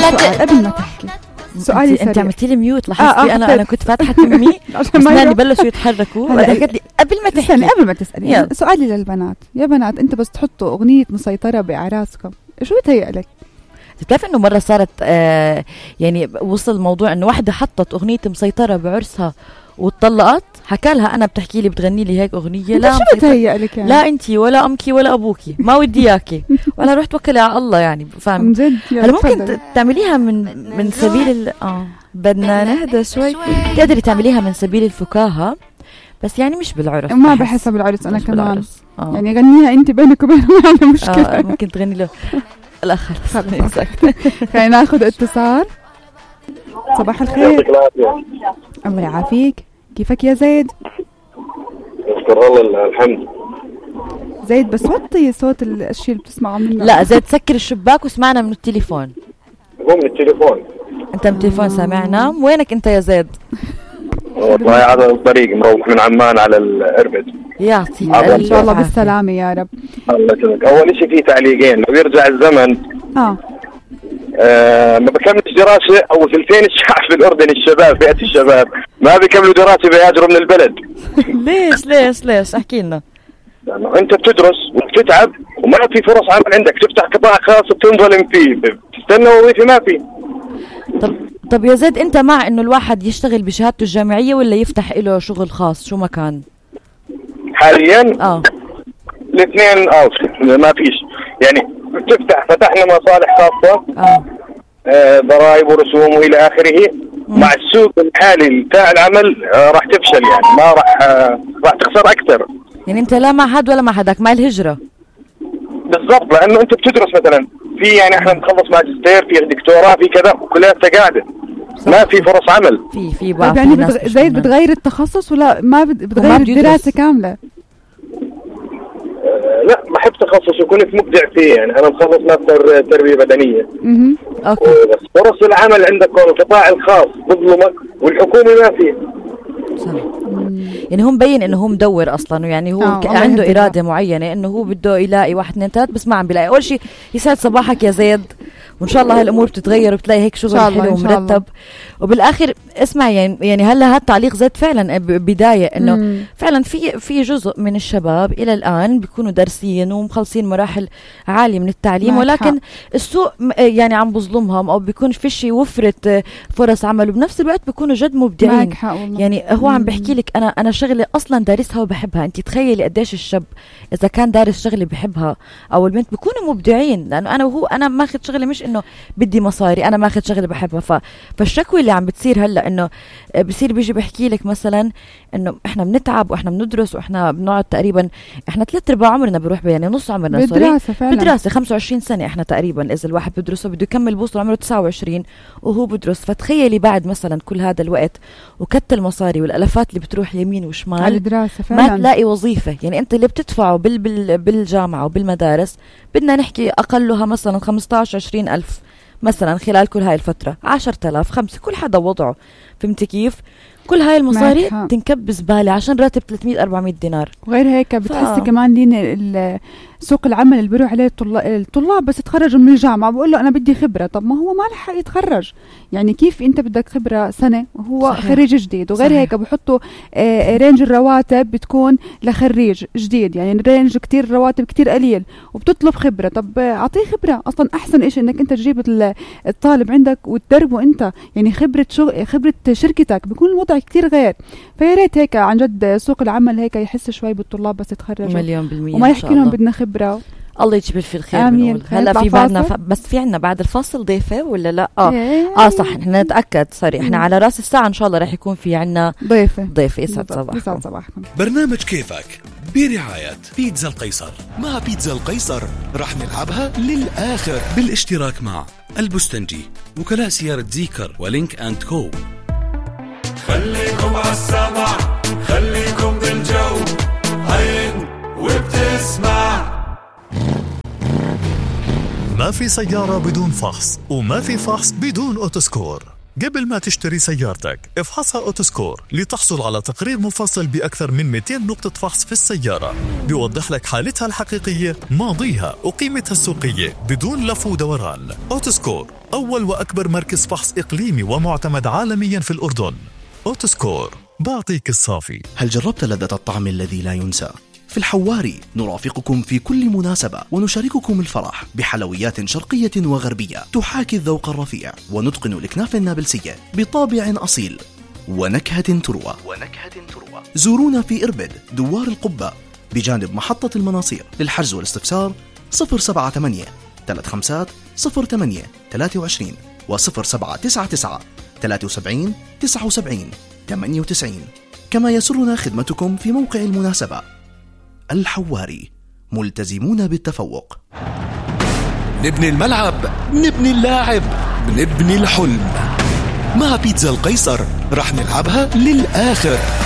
سؤال قبل ما تحكي. سؤالي انت عملتي لي ميوت لاحظتي انا كنت فاتحه تمي اسناني بلشوا يتحركوا قالت لي قبل ما تحكي قبل ما تسالي. سؤالي للبنات، يا بنات انت بس تحطوا اغنيه مسيطره باعراسكم شو بتهيأ لك؟ بتعرف انه مره صارت يعني وصل الموضوع انه واحده حطت اغنيه مسيطره بعرسها واتطلقت، حكالها انا بتحكي لي بتغني لي هيك اغنيه، لا شو بتهيأ لك يعني؟ لا انتي ولا امكي ولا ابوكي ما ودي اياكي ولا روح توكلي على الله يعني فاهم. هل ممكن تعمليها من سبيل بدنا نهدى شوي، تقدري تعمليها من سبيل الفكاهه بس يعني مش بالعرس، ما بحسها بالعرس انا كمان يعني غنيها انت بينك وبينه ما عندنا مشكله. ممكن تغني له لا خلص. خلينا ناخذ اتصال. صباح الخير. الله يعافيك، كيفك يا زيد؟ نشكر الله الحمد. زيد بس وطي صوت الشيء اللي بتسمعه منه. لا زيد سكر الشباك واسمعنا من التليفون. هو من التليفون. انت من التليفون سامعنا؟ وينك انت يا زيد؟ والله على الطريق مروح من عمان على الاربد. يعطي ان شاء الله بالسلامه يا رب. الله يسلمك. اول شيء في تعليقين، لو يرجع الزمن ما بكملش دراسة أو ثلثين الشعب في الأردن الشباب فئة الشباب ما بيكملوا دراسة بيهاجروا من البلد. ليش احكي لنا. أنت بتدرس وبتتعب وما في فرص عمل عندك، تفتح قطاع خاص بتنظلم فيه، بتستنى وظيفة ما في. طب يا زيد أنت مع إنه الواحد يشتغل بشهادته الجامعية ولا يفتح له شغل خاص شو مكان؟ حاليا الاثنين ما فيش يعني فتحنا مصالح خاصة ضرائب ورسوم وإلى آخره. مع السوق الحالي بتاع العمل راح تفشل يعني ما راح تخسر أكثر. يعني أنت لا مع حد ولا مع حدك مع الهجرة بالضبط، لأنه أنت بتدرس مثلا في يعني إحنا بنخلص ماجستير في دكتوراه في كذا وكلها قاعدة ما في فرص عمل. في بقى يعني زي بتغير التخصص ولا ما بتغير الدراسة كاملة؟ لا بحب تخصص وكنت مبدع فيه يعني أنا مخلص ماستر تربية بدنية. أوكي. بس فرص العمل عندك القطاع الخاص بظلمك والحكومة ما فيه. صح. يعني هو مبين انه هو مدور اصلا يعني هو عنده اراده معينه انه هو بده يلاقي 1 2 3 بس ما عم بيلاقي. اول شيء يسعد صباحك يا زيد وان شاء الله هالامور بتتغير وبتلاقي هيك شغل حلو ومرتب. وبالاخر اسمع يعني هلا هذا التعليق زيد فعلا بدايه انه فعلا في جزء من الشباب الى الان بيكونوا دارسين ومخلصين مراحل عاليه من التعليم ولكن السوق يعني عم بظلمهم او بيكون فيش وفره فرص عمل وبنفس الوقت بيكونوا جد مبدعين. يعني هو عم بحكي لك انا شغله اصلا دارسها وبحبها. انت تخيلي قديش الشاب اذا كان دارس شغله بحبها او البنت بيكونوا مبدعين لانه انا وهو انا ماخذ شغله مش انه بدي مصاري انا ماخذ شغله بحبها. فالشكوى اللي عم بتصير هلا انه بصير بيجي بحكي لك مثلا انه احنا بنتعب واحنا بندرس واحنا بنقعد تقريبا احنا 3/4 عمرنا بنروح يعني نص عمرنا بالدراسه 25 سنه احنا تقريبا اذا الواحد بدرسه بده يكمل بوصل عمره 29 وهو بدرس. فتخيلي بعد مثلا كل هذا الوقت وكت المصاري والالافات اللي بتروح يمين وشمال على الدراسه فعلا ما تلاقي وظيفه. يعني انت اللي بتدفعه بالجامعه وبالمدارس بدنا نحكي اقلها مثلا 15-20 ألف مثلا خلال كل هاي الفترة 10,000 5 كل حدا وضعه. فهمت كيف؟ كل هاي المصاري تنكب زبالة عشان راتب 300-400 دينار. وغير هيك بتحسي كمان لين سوق العمل اللي بيروح عليه الطلاب بس يتخرجوا من الجامعة بقول له أنا بدي خبرة. طب ما هو ما لحق يتخرج يعني كيف أنت بدك خبرة سنة وهو خريج جديد. وغير هيك بحطوا رينج الرواتب بتكون لخريج جديد يعني رينج كتير رواتب كتير قليل وبتطلب خبرة. طب أعطيه خبرة أصلا أحسن إشي إنك أنت تجيب الطالب عندك وتدربه أنت يعني خبرة شركتك بيكون الوضع كتير غير. فيا ريت هيك عن جد سوق العمل هيك يحس شوي بالطلاب بس يتخرجوا 1,000,000% وما يحكي لهم بدنا خبرة. الله يجبر في الخير. آمين. هلا في بعدنا بس في عنا بعد الفاصل ضيفة ولا لا؟ صح احنا نتأكد سوري احنا على راس الساعة ان شاء الله رح يكون في عنا ضيفة. يسعد صباحكم. برنامج كيفك برعاية بيتزا القيصر. مع بيتزا القيصر رح نلعبها للآخر بالاشتراك مع البستنجي وكلاء سيارة زيكر ولينك أند كو. خليكم عالسمع خليكم بالجو عين وبتسمع. ما في سيارة بدون فحص وما في فحص بدون أوتوسكور. قبل ما تشتري سيارتك افحصها أوتوسكور لتحصل على تقرير مفصل بأكثر من 200 نقطة فحص في السيارة بيوضح لك حالتها الحقيقية، ماضيها وقيمتها السوقية بدون لف ودوران. أوتوسكور أول وأكبر مركز فحص إقليمي ومعتمد عالميا في الأردن. أوتوسكور بعطيك الصافي. هل جربت لذة الطعم الذي لا ينسى؟ في الحواري نرافقكم في كل مناسبة ونشارككم الفرح بحلويات شرقية وغربية تحاكي الذوق الرفيع ونتقن الكنافة النابلسية بطابع أصيل ونكهة تروى. زورونا في إربد دوار القبة بجانب محطة المناصير. للحجز والاستفسار 078 35 08 23 و 0799 73 79 98. كما يسرنا خدمتكم في موقع المناسبة. الحواري، ملتزمون بالتفوق. نبني الملعب، نبني اللاعب، نبني الحلم. مع بيتزا القيصر رح نلعبها للآخر.